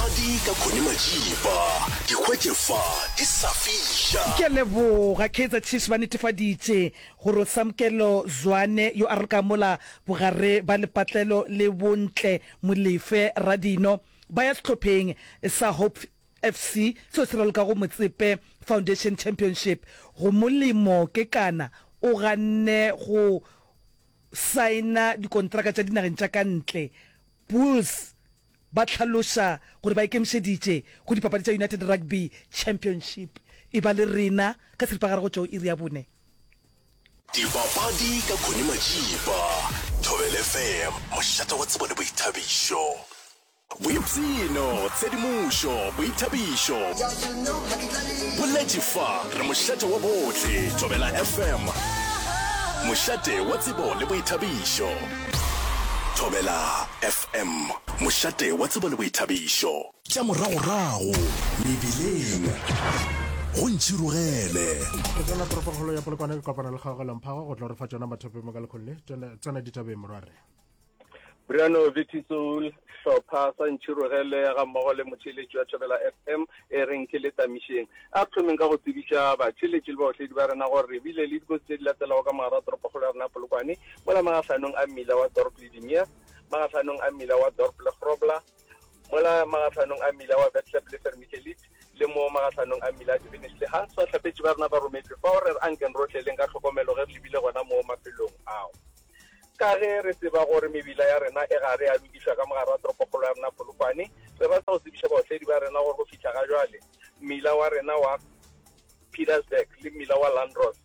Dipapadi ka Connie Majiba, di hwetše fa di sa fiša. Ke a leboga. Kaizer Chiefs ba netefaditše gore Samkelo Zwane yo a ralokago mola bogare ba lepatlelo le Bontle Molefe Radino ba ya sehlopheng sa Hope FC seo se ralokago Motsepe Foundation Championship. Go molemo Kekana o ganne go saena dikontraka tša dinageng tša ka ntle. Bulls ba hlaloša gore ba ikemišeditše go dipapadi tša United Rugby Championship. E ba le rena ka seripagare go tšwa go iri ya bone. Dipapadi ka Connie Majiba, Thobela FM, mošate wa tsebo le boithabišo. Boipshino, tshedimošo, boithabišo. Boletše fa, re mošate wa bohle, Thobela FM, mošate wa tsebo le boithabišo. Thobela FM, mošate wa tsebo le boithabišo. Tša moragorago mebileng, go ntšhirogele. Ke tsena toropongkgolo ya Polokwane ke kopana le Kgaogelo Mphago go tlo re fa tšona mathopi mo ka lekgolo le. Tsena ditabeng morwarre. Briano Vitisoul, hlopha sa Ntšhirogele ga mmogo le motheeletši wa Thobela FM e reng ke le tamišeng. A re thomeng ka go tsebiša batheeletši le baotledi ba rena gore re bile le dikotsi tše di latelago ka mogare wa toropokgolo ya rena Polokwane, mola magahlanong a mmila wa Dorp le Dimias, magahlanong a mmila wa Dorp le Grobler, mola magahlanong a mmila wa Vetlep le Vermigelit, le mo magahlanong a mmila Divinish le Hans. Bahlapetši ba rena ba rometšwe fao, re re ankeng rohle leng ka tlhokomelo ge re lebile gona mo mafelong ao. Ka ge re tseba gore mebila ya rena e gare ya lokišwa ka mogare wa toropokgolo ya rena Polokwane, re rata go tsebiša baotledi ba rena gore go fihla ga jwale mmila wa rena wa Pietersburg le mmila wa Landros,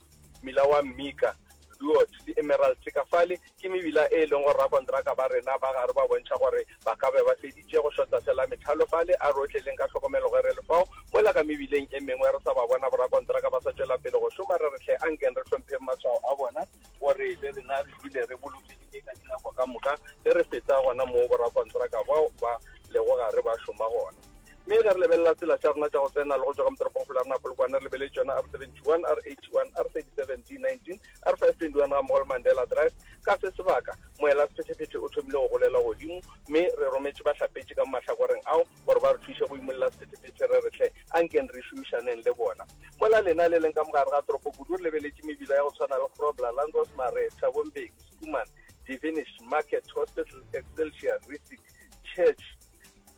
mmila wa Mmika, Duot le Emerald ka fale ke mebila e leng gore rakontraka ba rena ba gare ba bontšha gore ba ka be ba feditše go šota fela methalo fale. A re otleleng ka tlhokomelo ge re le fao mola ka mebileng e mengwe re sa ba bona borakontraka ba sa tšwela pele go šoma. Re re hle ankeng re hlompheng matshwao a bona gore le rena re dule re bolokegile ka dinako ka moka ge re feta gona moo borakontraka bao ba lego gare ba šoma gona. Mme ge re lebelela tsela tša rena tša go tsena le go tšwa ka motoropongkgolo ya rena Polokwane, re lebeletše tšona R71, R81, R37, D19, R521 ga mmogo le Mandela Drive. Ka se sebaka, moela sephethephethe o thomile go golela godimo mme re rometše bahlapetši ka mo mahlakoreng ao gore ba re thuše go imolla sephethephethe re re hle ankeng re šomišaneng le bona. Mola lena le leng ka mogare ga toropo kudu re lebeletše mebila ya go tshwana le Grobler, Landros Marais, Thabo Mbeki, Schoeman, Divinish, Market, Hospital, Excelsior, Rissik, Church,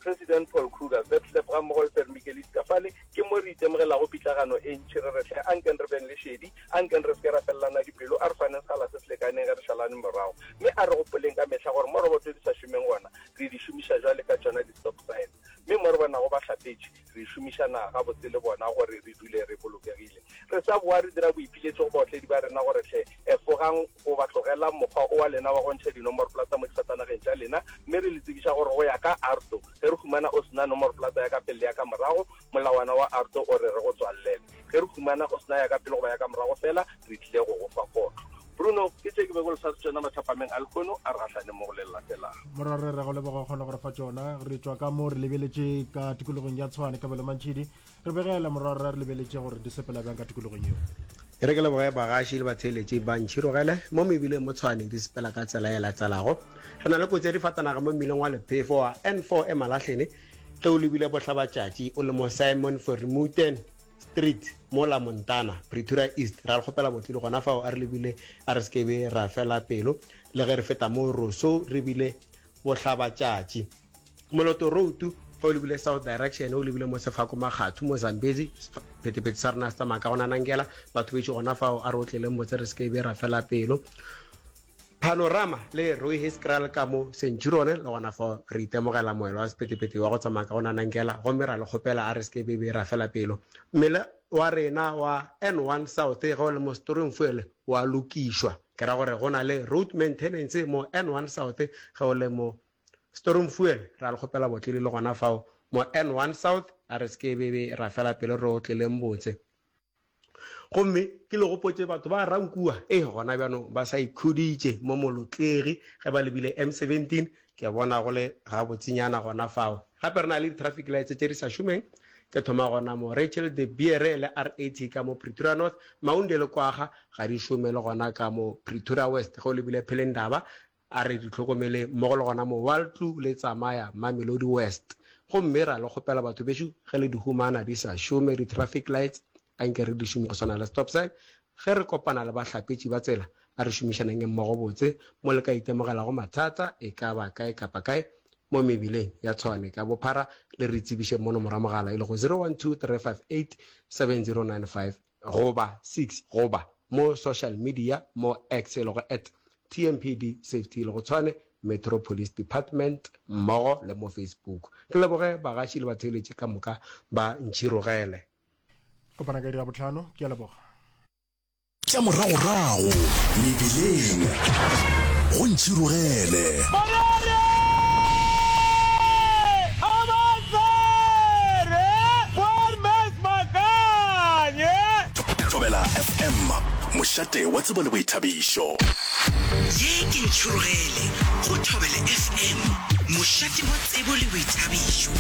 President Paul Kruger, Vetlep gammogo le Vermikelis ka fale ke mo re itemogelago pitlagano e ntši re re hle ankeng re beng le šedi, ankeng re se ke ra felelana dipelo, a re faneng sekgala se se lekaneng ge re šalane morago. Mme a re gopoleng ka mehla gore mo roboto di sa šomeng gona re di šomiša bjale ka tšona di-stop signs. Mme mo re bonago bahlapetši, re šomišana gabotse le bona gore re dule re bolokegile. Re sa boa re dira boipiletšo go baotledi ba rena gore hle efogang goba tlogelang mokgwa o wa lena wa go ntšha dinomoroplata mo difatanageng tša lena mme re le tsebiša gore go ya ka AARTO ge re humana o se na nomoroplata ya ka pele le ya ka morago, molawana wa AARTO o re re go tswallele. Ge re humana o se na ya ka pele goba ya ka morago fela, re tlile go go fa kotlo. Bruno, ke tše ke bego le sa tšona mathapameng a lehono, a re gahlane mo go le latelago. Morwarre, re go leboga o kgona go re fa tšona. Re tšwa ka mo re lebeletše ka tikologong ya Tshwane, Kabelo Mantšhidi. Re begele morwarre, re lebeletše gore di sepela bjang ka tikologong yeo. E re ke leboge bagaši le batheeletši ba Ntšhirogele mo mebileng mo Tshwane di sepela ka tsela e latelago. Re na le kotsi ya difatanaga mo mmileng wa lephefo wa N4 e Malahlene ge o lebile bohlabatšatši o le mo Simon Vermuten Street mola Montana, Pretoria East. Ra le kgopela botlile gona fao a re lebile a re se ke be ra fela pelo le ge re feta mo Rossouw re bile bohlabatšatši. Moloto Road ge o lebile south direction o lebile mo Sefako Makgathu mo Zambezi phetephete sa rena se tsamaya ka go nanankela batho bešo gona fao a re otleleng botse re se ke be ra fela pelo. Panorama le Rooihuiskraal ka mo Centurion le gona fao re itemogela moelo wa sephethephethe wa go tsamaya ka go nanankela gomme ra le kgopela a re se ke be be ra fela pelo. Mmila wa rena wa N1 South ge o le mo Stormfuel wa lokišwa, ke ra gore go na le road maintenance mo N1 South ge o le mo Stormfuel ra le kgopela botlele le gona fao mo N1 South a re se ke be be ra fela pelo re otleleng botse. Gomme ke le gopotše batho ba Rankua, ee, gona bjanong ba sa ikhuditše mo Molotlegi ge ba lebile M17, ke bona go le gabotsenyana gona fao. Gape re na le di-traffic lights tše di sa šomeng, ke thoma gona mo Rachel de Beere le R80 ka mo Pretoria North, Maunde le Kwaga ga di šome le gona ka mo Pretoria West ge o lebile Phelendaba, A re di hlokomeleng mmogo le gona mo Waltloo le Tsamaya, Mamelodi West. Gomme ra le kgopela batho bešo ge le di humana di sa šome di traffic lights anke re di šome go swana le stop sign. Ge re kopana le bahlapetši ba tsela a re šomišaneng mmogo botse mo le ka itemogelago mathata e ka ba kae kapa kae mo mebileng ya Tshwane ka bophara le re tsebiše mo nomoro ya mogala e lego 012 358 7095 goba 6 goba mo social media mo X e lego at TMPD Safety e lego Tshwane Metro Police Department mmogo le mo Facebook. Ke leboge bagaši le batheeletši ka moka ba Ntšhirogele. Kopana ka iri ya bohlano. Ke a leboga. Tša moragorago mebileng go Ntšhirogele. Thobela FM, mošate wa tsebo le boithabišo. Ye ke Ntšhirogele go Thobela FM, mošate wa tsebo le boithabišo.